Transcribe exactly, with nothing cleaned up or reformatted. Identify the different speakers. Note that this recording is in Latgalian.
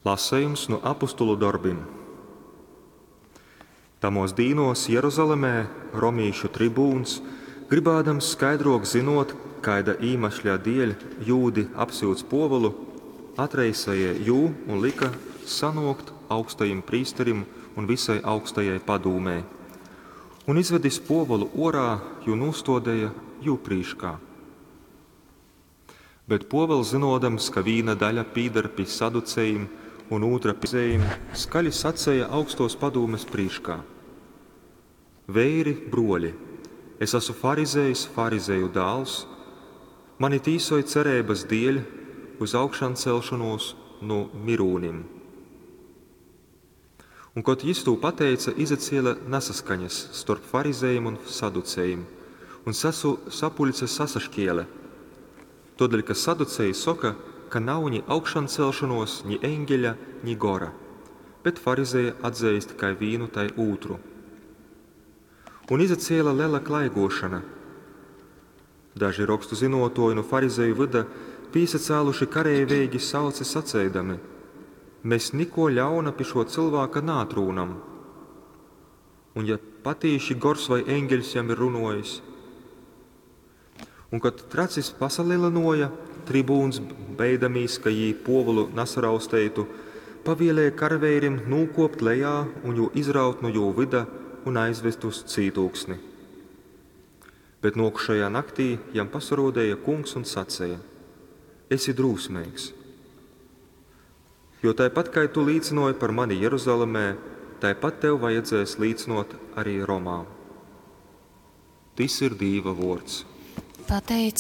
Speaker 1: Lasejums nu Apostolu dorbim. Tamōs dīnōs Jeruzalemē romīšu tribūns, grybādams skaidrōk zynōt, kaida īmešļa dēļ jūdi apsyudz Pōvulu, atreisēja jū un lyka sanōkt augstajim prīsterim un vysai augstajai padūmei. Un, izvedis Pōvulu ōrā, jū nūstōdeja jū prīškā. Bet Pōvels, zynōdams, ka vīna daļa pīdar pi saducejim un ūtra pi farizejim, skaļi saceja augstōs padūmes prīškā: Veiri, brōļi, es asu farizejs, farizeju dāls, mani tīsoj cereibas dēļ uz augšancelšonūs nu myrūnim. Un, kod jys tū pateice, izacēle nasaskaņas storp farizejim un saducejim, un sasu, sapuļce sasaškēle. Tōdēļ, ka saduceji soka, ka nav ni augšancelšonōs, ni eņgeļa, ni gora, bet farizeji atzeist kai vīnu, tai ūtru. Un izacēle lela klaigōšona. Daži rokstu zynōtōji nu farizeju vyda pīsacāluši kareiveigi sauce saceidami: Mes nikō ļauna pi šō cylvāka naatrūnam. Un ja patīši gors vai eņgeļs jam ir runōjis. Un, kod tracis pasalelynōja, tribūns, beidamīs, ka jī Pōvulu nasarausteitu, pavielēja karaveirim nūkōpt lejā un jū izraut nu jū vyda un aizvest uz cītūksni. Bet nōkušajā naktī jam pasarōdeja Kungs un saceja: Esi drūsmeigs! Jo taipat kai tu līcynōji par mani Jeruzalemē, taipat tev vajadzēs līcynōt ari Romā. Tys ir Dīva vōrds.
Speaker 2: Pateic